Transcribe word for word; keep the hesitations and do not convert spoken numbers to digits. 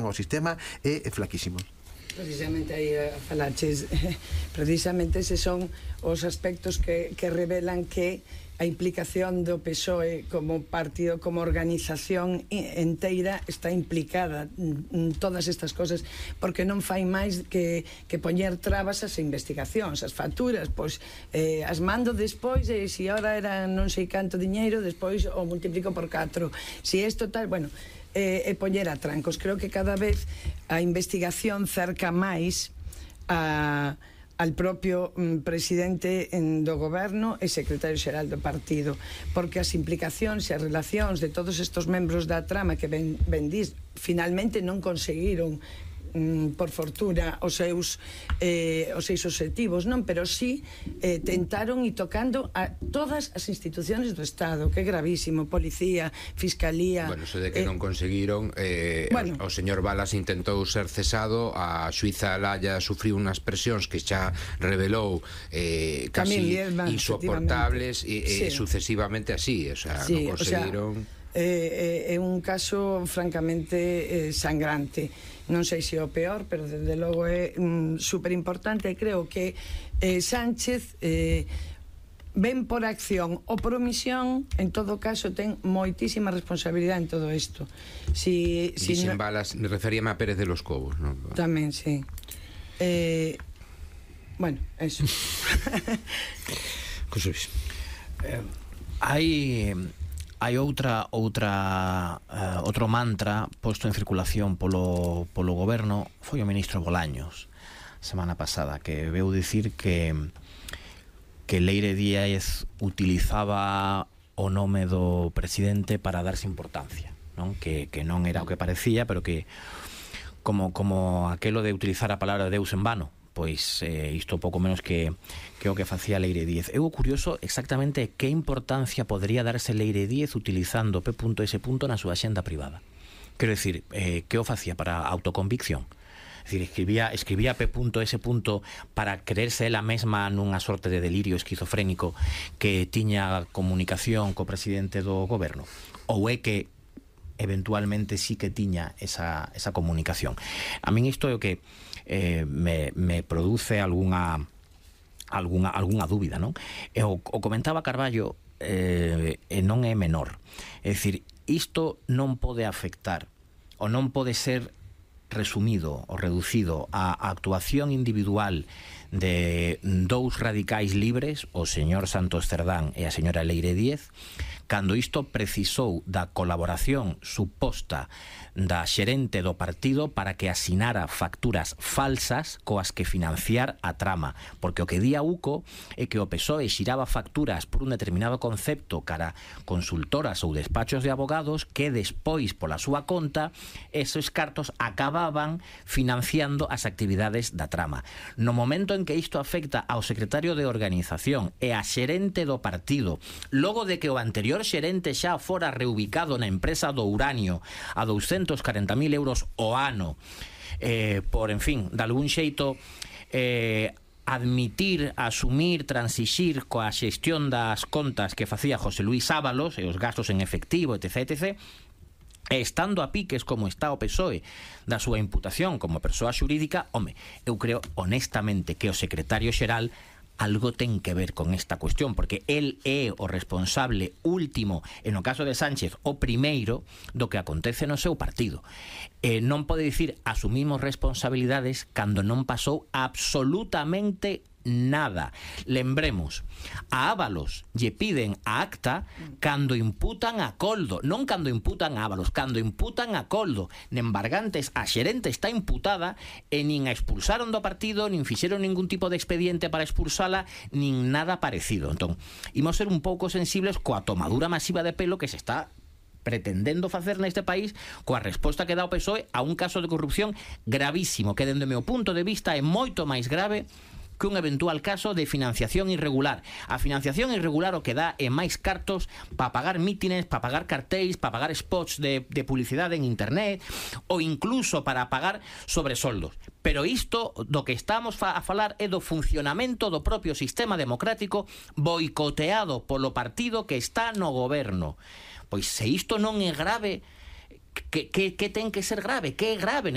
o sistema é flaquísimo. Precisamente aí a falaches, precisamente eses son os aspectos que, que revelan que a implicación do P S O E como partido, como organización enteira está implicada en todas estas cosas, porque non fai máis que, que poñer trabas ás investigacións, as facturas, pois eh, as mando despois, e se ora era non sei canto diñeiro, despois o multiplico por catro, se isto tal, bueno, e eh, poñer a trancos. Creo que cada vez a investigación cerca máis a al propio mm, presidente en, do goberno e secretario xeral do partido, porque as implicacións e as relacións de todos estes membros da trama que ben, ben dis, finalmente non conseguiron mm, por fortuna os seus eh, os seus objetivos, non, pero sí eh, tentaron e tocando a todas as institucións do Estado, que é gravísimo, policía, fiscalía. Bueno, eso de que eh, non conseguiron, eh, bueno, o, o señor Balas intentou ser cesado, a xuíza Laya sufriu unhas presións que xa revelou eh, casi Viedma, insoportables e, e sí. sucesivamente así, o sea, sí, non conseguiron. O sea, é eh, eh, un caso francamente eh, sangrante. Non sei se é o peor, pero desde logo é mm, super importante, e creo que eh, Sánchez eh, ven por acción ou por omisión, en todo caso ten moitísima responsabilidade en todo isto. Si, si Dixen no... Balas, me referíame a Pérez de los Cobos, non? Tamén, sí. Eh, bueno, eso. José Luis, eh, hai... Hai outra outra uh, outro mantra posto en circulación polo polo goberno, foi o ministro Bolaños semana pasada, que veu dicir que que Leire Díaz utilizaba o nome do presidente para darse importancia, non? Que, que non era o que parecía, pero que como como aquelo de utilizar a palabra de Deus en vano, pois eh, isto pouco menos que, que o que facía Leire Díaz. É o curioso exactamente que importancia podría darse Leire Díaz utilizando P S na súa axenda privada. Quero dicir, eh, que o facía para autoconvicción? É dicir, escribía, escribía P S para creerse ela mesma nunha sorte de delirio esquizofrénico que tiña comunicación co presidente do goberno? Ou é que eventualmente sí que tiña esa, esa comunicación? A min isto é o que eh, me, me produce algunha algunha, algunha dúbida, non? E o, o comentaba Carballo, eh, e non é menor. É dicir, isto non pode afectar ou non pode ser resumido ou reducido á actuación individual de dous radicais libres, o señor Santos Cerdán e a señora Leire Díaz, cando isto precisou da colaboración suposta da xerente do partido para que asinara facturas falsas coas que financiar a trama, porque o que di a UCO é que o P S O E xiraba facturas por un determinado concepto cara consultoras ou despachos de abogados que despois pola súa conta esos cartos acababan financiando as actividades da trama. No momento en que isto afecta ao secretario de organización e a xerente do partido, logo de que o anterior xerente xa fora reubicado na empresa do uranio a douscentos corenta mil euros o ano, eh, por, en fin, de algún xeito eh, admitir, asumir, transixir coa xestión das contas que facía José Luis Ábalos e os gastos en efectivo, etc, etc, e estando a piques como está o P S O E da súa imputación como persoa xurídica, home, eu creo honestamente que o secretario xeral algo ten que ver con esta cuestión, porque el é o responsable último, e no caso de Sánchez o primeiro, do que acontece no seu partido. Eh, non pode dicir asumimos responsabilidades cando non pasou absolutamente nada. Lembremos, a Ábalos lle piden a acta cando imputan a Coldo, non cando imputan a Ábalos, cando imputan a Coldo. Nembargantes, a xerente está imputada e nin a expulsaron do partido, nin fixeron ningún tipo de expediente para expulsala, nin nada parecido. Entón, imos ser un pouco sensibles coa tomadura masiva de pelo que se está pretendendo facer neste país coa resposta que dá o P S O E a un caso de corrupción gravísimo, que dende o meu punto de vista é moito máis grave que un eventual caso de financiación irregular. A financiación irregular o que dá é máis cartos para pagar mítines, para pagar cartéis, para pagar spots de, de publicidade en internet, ou incluso para pagar sobresoldos. Pero isto do que estamos a falar é do funcionamento do propio sistema democrático boicoteado polo partido que está no goberno. Pois se isto non é grave, que, que, que ten que ser grave? Que é grave